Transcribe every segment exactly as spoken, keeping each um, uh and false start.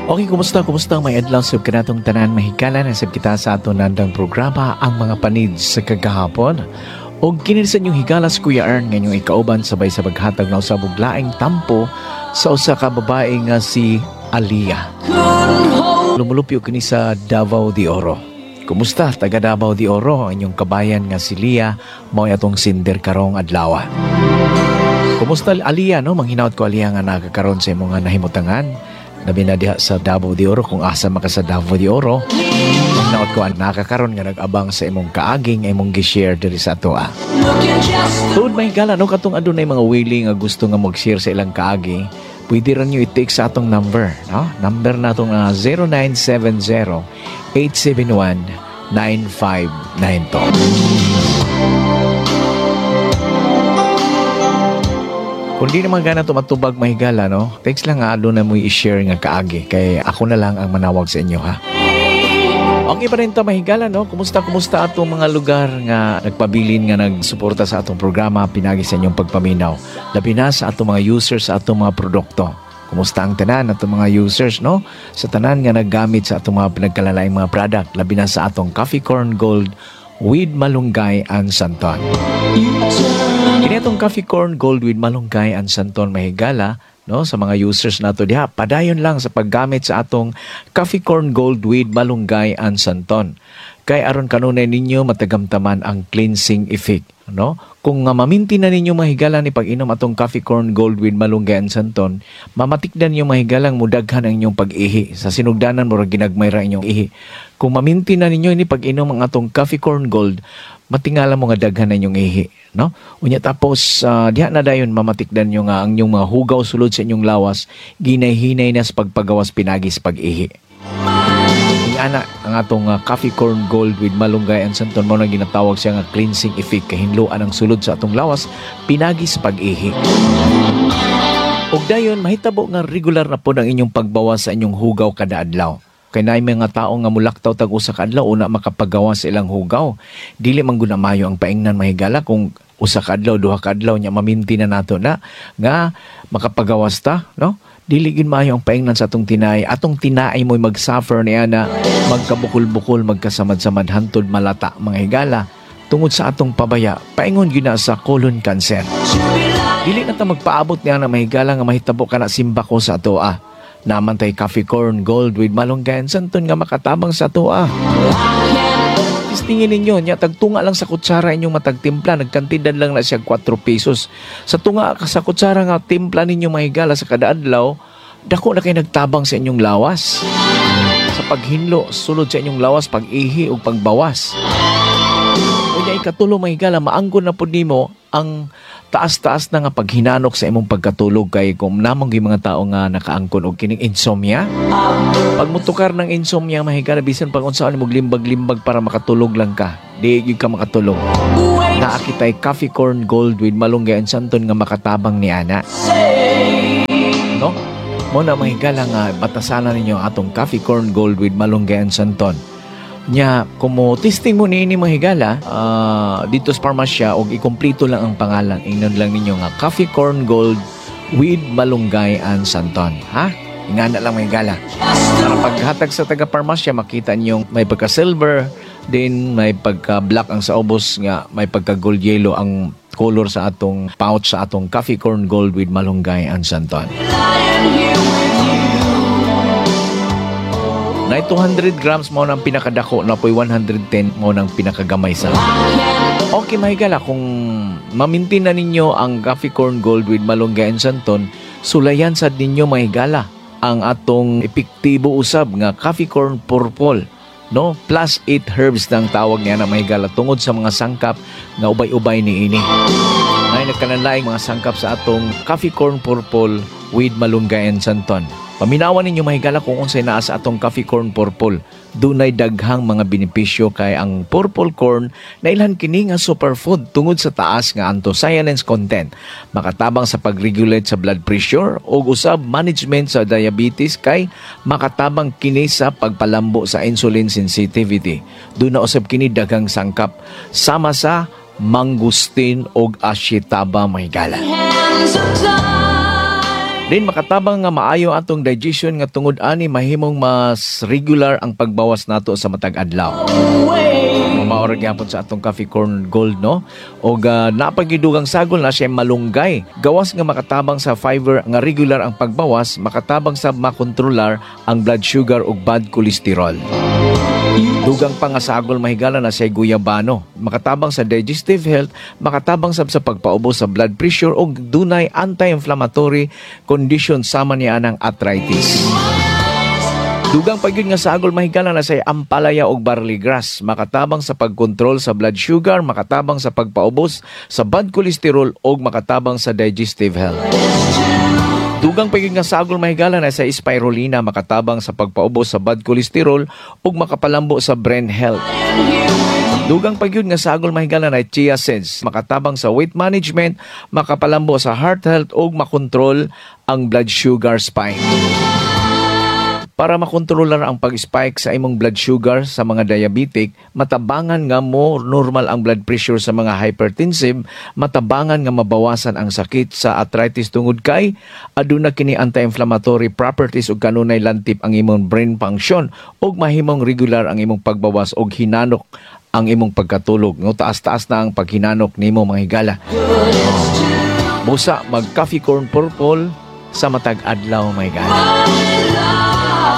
Okay, kumusta? Kumusta? May adlaw sa kanatong tanan, mahigala na sab kita sa ato nandang programa, Ang Mga Panid sa Kagahapon. Og kini sa inyong higala si Kuya Ern nga inyong ikauban sabay sa paghatag na usab og laing tampo sa usa ka babae nga si Aliyah. Lumulupyo kini sa Davao de Oro. Kumusta, taga Davao de Oro? Ang inyong kabayan nga si Lia mao atong sender karong adlaw. Kumusta, Aliyah, no? Manghinaot ko, Aliyah, nga nakakaroon sa imong nga nahimutangan. Labi na diha sa Davao de Oro, kung asa maka sa Davao de Oro. Manghinaot ko ang nakakaroon nga nag-abang sa imong kaaging imong gi-share diri sa atoa. Tuod, may gala, no, katong adunay mga willing nga gusto nga mag-share sa ilang kaagi, pwede ra niyo i-text sa atong number, no? Number natong uh, zero nine seven zero, eight seven one, nine five nine two. Kung di naman gana tumatubag, mahigala, no? Text lang nga na mo i-share nga kaagi. Kay ako na lang ang manawag sa inyo, ha? Okay pa rin ta, mahigala, no? Kumusta, kumusta atong mga lugar nga nagpabilin nga nagsuporta sa atong programa pinagi sa inyong pagpaminaw? Labi na sa atong mga users sa atong mga produkto. Kumusta ang tanan atong mga users, no? Sa tanan nga naggamit sa atong mga pinagkalalaing mga product, labi na sa atong Coffee Corn Gold with Malunggay and Santon. Kini atong Coffee Corn Gold with Malunggay and Santon, mahigala, no, sa mga users nato diha, padayon lang sa paggamit sa atong Coffee Corn Gold with Malunggay and Santon kay aron kanunay ninyo matagamtaman ang cleansing effect, no? Kung nga maminti na ninyo, mahigala, ni pag-inom atong Coffee Corn Gold with Malunggay and Santon, mamatikdan ninyo, mahigalang, mudaghan ang inyong pag-ihi sa sinugdanan, murag ginagmay ra inyong ihi. Kung maminti na ninyo ini pag-inom ang atong Coffee Corn Gold, matingala mo nga daghan na inyong ihi, no? Unya tapos uh, diha na dayon mamatikdan nyo nga ang inyong mga hugaw sulod sa inyong lawas ginay-hinay na sa pagpagawas pinagi sa pag-ihi. Ana ang atong uh, Coffee Corn Gold with Malunggay and Santon, mo na ginatawag siya nga cleansing effect, kahinloan ang sulod sa atong lawas pinagi sa pag-ihi. Ug dayon mahitabo nga regular na pod ang inyong pagbawas sa inyong hugaw kada adlaw. Kay naay mga tao nga mulaktaw tag usa ka adlaw una makapagawas sa ilang hugaw. Dili man gud na maayo ang paingnan, mahigala, kung usa ka adlaw, duha ka adlaw nya maminti na nato na nga makapagawas ta, no? Dili gid maayo ang paingnan sa atong tinai. Atong tinai mo'y mag-suffer niya na magkabukol-bukol, magkasamad-samad hantod malata, mga higala, tungod sa atong pabaya. Paingon gyud na sa colon cancer. Dili na ta magpaabot niya na, mahigala, nga mahitabo ka na simba ko sa atoa. Naman tay Coffee Corn Gold with Malunggay and Santon nga makatabang sa atoa. Testingin ninyo, nya tagtunga lang sa kutsara inyong matagtimpla, nagkantidad lang na siya kwatro pesos. Sa tunga sa kutsara nga timpla ninyo, mahigala, sa kada adlaw, dako na kay nagtabang sa inyong lawas. Sa paghinlo, sulod sa inyong lawas, pag-ihi ug pagbawas. Unya ikatulo, mahigala, maanggon na pud nimo ang taas-taas na nga paghinanok sa imong pagkatulog, kay kung namang gyud mga tao nga nakaangkon og kining insomnia. Pag mutukar ng insomnia, mahigala, bisan pag unsaon mo limbag-limbag para makatulog lang ka, di gyud ka makatulog. Naa kitay Coffee Corn Gold with Malunggay and Santon nga makatabang ni ana. No? Mo na, mahigala, nga batasanan ninyo ang atong Coffee Corn Gold with Malunggay and Santon. Nya, kung mo testing mo niini, mga higala, ah, dito sa parmasya og ikumpleto lang ang pangalan. Ingnon lang ninyo nga Coffee Corn Gold with Malunggay and Santon. Ha? Ingana lang, mga higala. Para paghatag sa taga parmasya, makita niyo may pagka silver, din may pagka black ang sa ubos nga may pagka gold yellow ang color sa atong pouch sa atong Coffee Corn Gold with Malunggay and Santon. Na two hundred grams mo nang pinakadako na po'y one hundred ten mo nang pinakagamay sa. Okay, mahigala, kung mamintin na ninyo ang Coffee Corn Gold with Malunggay and Santon, sulayan sad ninyo, mahigala, ang atong epektibo usab nga Coffee Corn Purple, no? Plus eight herbs nang tawag niya na, mahigala, tungod sa mga sangkap nga ubay-ubay ni ini. Nay nagkananlaing mga sangkap sa atong Coffee Corn Purple with Malunggay and Santon. Paminawan ninyo, mahigala, kung unsay naa sa atong Coffee Corn Purple. Dunay daghang mga benepisyo kay ang purple corn nailhan kini nga superfood tungod sa taas nga anthocyanins content. Makatabang sa pag-regulate sa blood pressure ug usab management sa diabetes kay makatabang kini sa pagpalambo sa insulin sensitivity. Duna usab kini daghang sangkap sama sa mangosteen ug ashitaba, mahigala. Hands of time. Din makatabang nga maayo atong digestion nga tungod ani mahimong mas regular ang pagbawas nato sa matag adlaw. Mao ra gyapon sa atong Coffee Corn Gold, no? Og uh, napagidugang sagol na siya malunggay. Gawas nga makatabang sa fiber nga regular ang pagbawas, makatabang sa makontrolar ang blood sugar ug bad cholesterol. Dugang pa nga sagol, mahigala, na siya guyabano. Makatabang sa digestive health, makatabang sab sa pagpaubos sa blood pressure ug dunay anti-inflammatory condition sama niya ang arthritis. Dugang pa gyud nga sagol, mahigala, na say ampalaya og barley grass, makatabang sa pagkontrol sa blood sugar, makatabang sa pagpaubos sa bad cholesterol ug makatabang sa digestive health. Dugang pa gyud nga sagol, mahigala, na sa spirulina, makatabang sa pagpaubos sa bad cholesterol ug makapalambo sa brain health. Dugang pa gyud nga sagol, mahigala, na chia seeds, makatabang sa weight management, makapalambo sa heart health ug makontrol ang blood sugar spike. Para makontrolar ang pag-spike sa imong blood sugar sa mga diabetic, matabangan nga mo normal ang blood pressure sa mga hypertensive, matabangan nga mabawasan ang sakit sa arthritis tungod kay aduna kini anti-inflammatory properties ug kanunay lantip ang imong brain function ug mahimong regular ang imong pagbawas og hinanok ang imong pagkatulog. No, taas-taas na ang paghinanok nimo, mga higala. Busa mag Coffee Corn Purple sa matag adlaw, mga higala.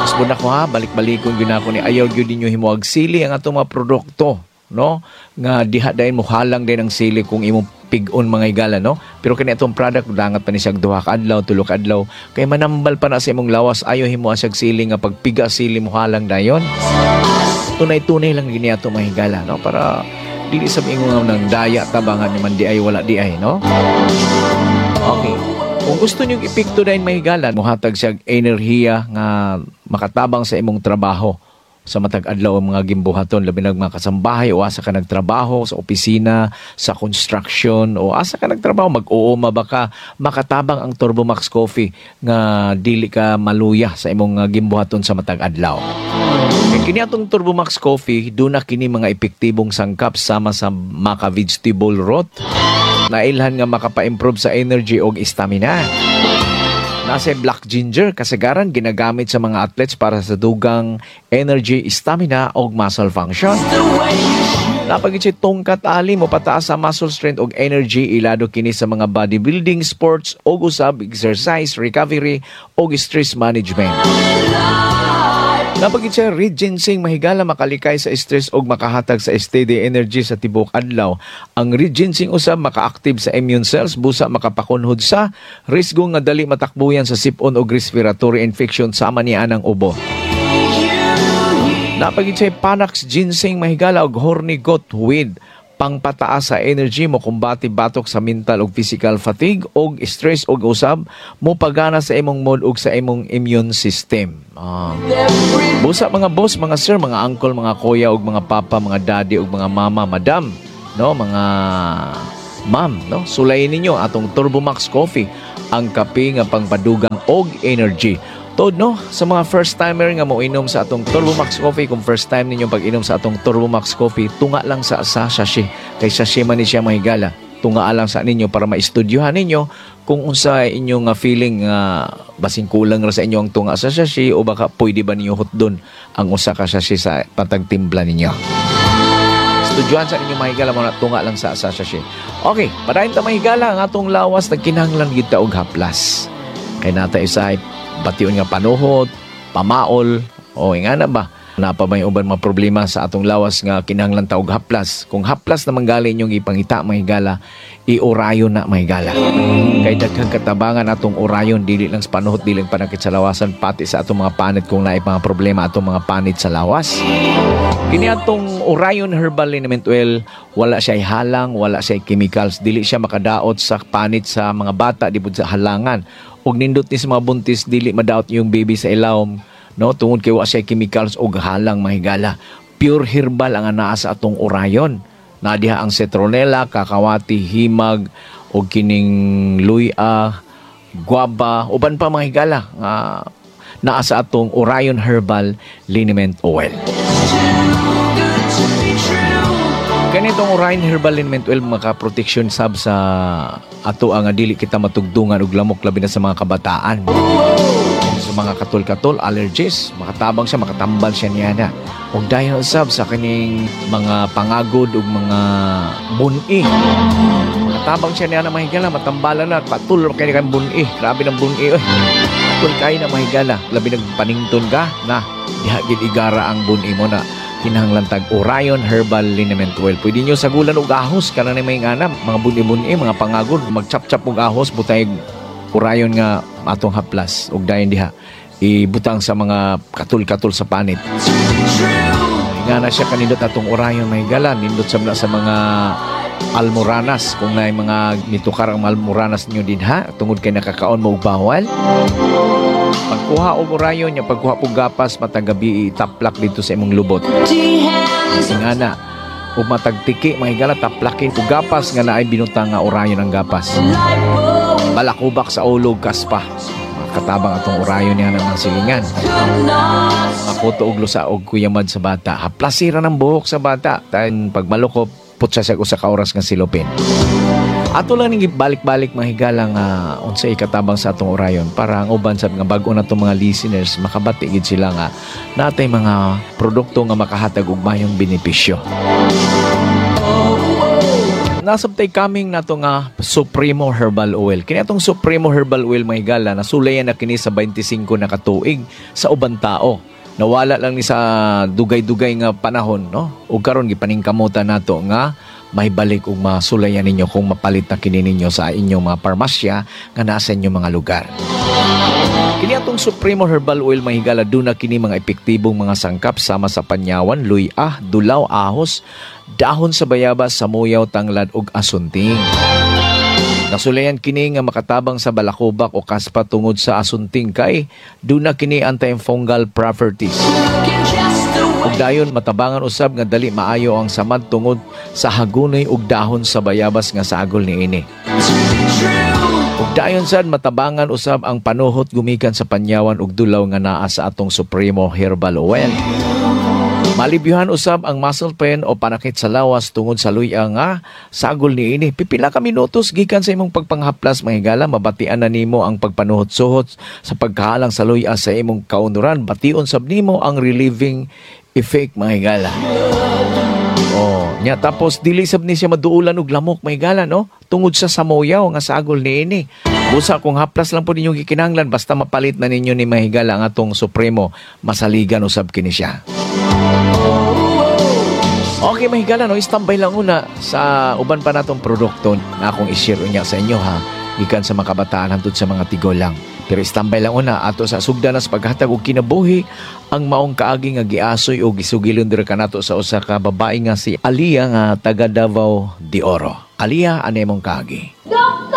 Usbon ako ha, balik-balikon gyud ako ni, ayaw gyud ninyo himuag sili ang atong mga produkto, no? Nga diha dayon mo halang din ang sili kung imong pig-on, mga higala, no? Pero kini atong product, dangat pa ni siya duha ka adlaw, tulo ka adlaw, kay manambal pa na sa imong lawas. Ayaw himo siyag sili nga pagpiga sili mo halang dayon. Tunay-tunay lang gini ato, mga higala, no? Para dili sa ingon nga nang daya tabangan ni man di ay wala di ay, no? Okay. Kung gusto niyo epekto dayon, mahigala, muhatag siya enerhiya nga makatabang sa imong trabaho sa matag adlaw ang mga gimbuhaton, labi nag mga kasambahay o asa ka nagtrabaho sa opisina, sa construction o asa ka nagtrabaho, mag-uuma ba ka, makatabang ang Turbomax Coffee nga dili ka maluya sa imong uh, gimbuhaton sa matag adlaw. Kay kini atong Turbomax Coffee, duna kini mga epektibong sangkap sama sa maka vegetable root nailhan nga makapa-improve sa energy og stamina. Nasa black ginger, kasagaran ginagamit sa mga athletes para sa dugang energy, stamina og muscle function. Napagit si tongkat ali mo pataas sa muscle strength og energy, ilado kini sa mga bodybuilding sports og usab exercise, recovery og stress management. Napagit siya red ginseng, mahigala, makalikay sa stress og makahatag sa steady energy sa tibuok adlaw. Ang red ginseng usab maka-active sa immune cells busa makapakunhod sa risgo nga dali matakbuyan sa sipon og respiratory infection sama niya ang ubo. Napagit siya Panax ginseng, mahigala, og horny goat weed, pangpataas sa energy, mo kumbati batok sa mental ug physical fatigue og stress og usab mo pagana sa imong mood ug sa imong immune system. Ah. Busa mga boss, mga sir, mga uncle, mga kuya ug mga papa, mga daddy ug mga mama, madam, no, mga ma'am, no? Sulayin ninyo atong Turbomax Coffee, ang kape nga pangpadugang og energy. Tod no, sa mga first timer nga moinom sa atong Turbomax Coffee, kung first time ninyo pag-inom sa atong Turbomax Coffee, tunga lang sa sa sachet. Kay sachet man ni siya, mahigala. Tunga lang sa ninyo para maistudyohan ninyo kung unsa inyong nga feeling nga basin kulang ra sa inyo ang tunga sa sachet o baka pwede ba ninyo hutdon ang usa ka sachet sa patagtimpla ninyo. Estudyohan sa inyo, mahigala, mo na tunga lang sa sa sachet. Okay, padayon ta, mahigala, ang atong lawas nagkinahanglan gid ta og haplas. Kay nata usahay bation nga panuhot, pamaol, o ingana ba? Napa may uban mga problema sa atong lawas nga kinahanglan ta og haplas. Kung haplas naman gali inyong ipangita, mahigala, i-Orion na, mahigala. Kay daghang katabangan atong Orion, dili lang sa panuhot, dili lang panakit sa lawasan, pati sa atong mga panit kung naay mga problema atong mga panit sa lawas. Kini atong Orion Herbal Liniment Oil, wala siya halang, wala siya chemicals, dili siya makadaot sa panit sa mga bata, di pud sa halangan. Ug nindot ni sa mga buntis, dili madaot yung baby sa ilawom, no, tungod kay wa siya chemicals og halang, mahigala. Pure herbal ang anaa sa atong Orion. Nadiha ang citronella, kakawati, himag og kining luya, guava, uban pa, mga higala, nga naa sa atong Orion Herbal Liniment Oil. Kay Kanitong Orion Herbal Liniment Oil, maka-protection sab sa ato ang dili kita matugdungan og lamok, labi na sa mga kabataan. Sa mga katol-katol, allergies, makatabang siya, makatambal siya niya na. Ug dayon usab sa kining mga pangagod ug mga buni. Makatabang siya niya na, mahigala, matambalan na, katul kay kang buni. Grabe ng buni oy. Katul kay na, mahigala, labi nagpanington ka na diha gid igara ang buni mo na, kinahanglan tag Orion Herbal Liniment Oil. Pwede nyo sagulan og ahos kana na may ngana, mga buni-buni, mga pangagod, magchap-chap og ahos, butay Orion nga atong haplas ug dayon diha ibutang sa mga katul-katul sa panit. Nga na siya kanindot atong Orion, mahigala, nindot sab na sa mga almoranas, kung naay mga nitukar ang almoranas ninyo dinha tungod kay nakakaon mo og bawal. Pagkuha og Orion nya, pagkuha og gapas, matag gabi itaplak dito sa imong lubot. Nga na ug matag tiki, mahigala, taplakin og gapas nga naay binutang nga Orion ang gapas. Balakubak sa ulo, kaspa. Katabang atong Orion niya ng silingan. Mga kuto og lusa og kuyamad sa bata. Haplasira ng buhok sa bata. Tan pagmalukop, putsa siya usa ka oras nga silupin. Ato lang ning balik-balik, mahigala, nga unsay ikatabang sa atong Orion para ang uban sa nga bag-o na itong mga listeners makabati gid sila nga natay mga produkto nga makahatag og mayong benepisyo. Nasabtay kaming nato nga Supremo Herbal Oil. Kini atong Supremo Herbal Oil, mahigala, nasulayan na kini sa twenty-five na katuig sa uban tao. Nawala lang ni sa dugay-dugay nga panahon, no? Ug karon gipaningkamutan nato nga mahibalik ug masulayan ninyo kung mapalit na kini ninyo sa inyong mga parmasya nga nasa inyong mga lugar. Kini atong Supremo Herbal Oil, mahigala, duna kini mga epektibong mga sangkap sama sa panyawan, luy-ah, dulaw, ahos, dahon sa bayabas, samuyaw, tanglad ug asunting. Nasulayan kini nga makatabang sa balakubak o kaspa tungod sa asunting kay duna kini antifungal properties. Ug dayon matabangan usab nga dali maayo ang samad tungod sa hagunoy ug dahon sa bayabas nga sagol niini. Ug dayon sad matabangan usab ang panuhot gumikan sa panyawan ug dulaw nga naa sa atong Supremo Herbal Oil. Malibyuhan usab ang muscle pain o panakit sa lawas tungod sa luya nga sagol niini. Pipila ka minutos gikan sa imong pagpanghaplas, mahigala, mabatian na nimo ang pagpanuhot-suhot sa pagkahalang sa luya sa imong kaunuran. Bation sab nimo ang relieving effect, mahigala. Oh, nya tapos dili sab ni siya maduulan og lamok, mahigala, no? Tungod sa samuyaw nga sagol niini. Busa kung haplas lang po ninyong gikinahanglan, basta mapalit na ninyo ni, mahigala, ang atong Supremo, masaligan usab kini siya. Okay, mahigala, no, standby lang una sa uban pa natong produkto na akong i-share unya sa inyo ha, gikan sa mga kabataan hantod sa mga tigulang. Pero standby lang una ato sa sugdan sa paghatag og kinabuhi, ang maong kaagi nga giasoy o gisugilon dira kanato sa usa ka babae nga si Alia nga taga Davao de Oro. Alia, ano imong kaagi? Dok!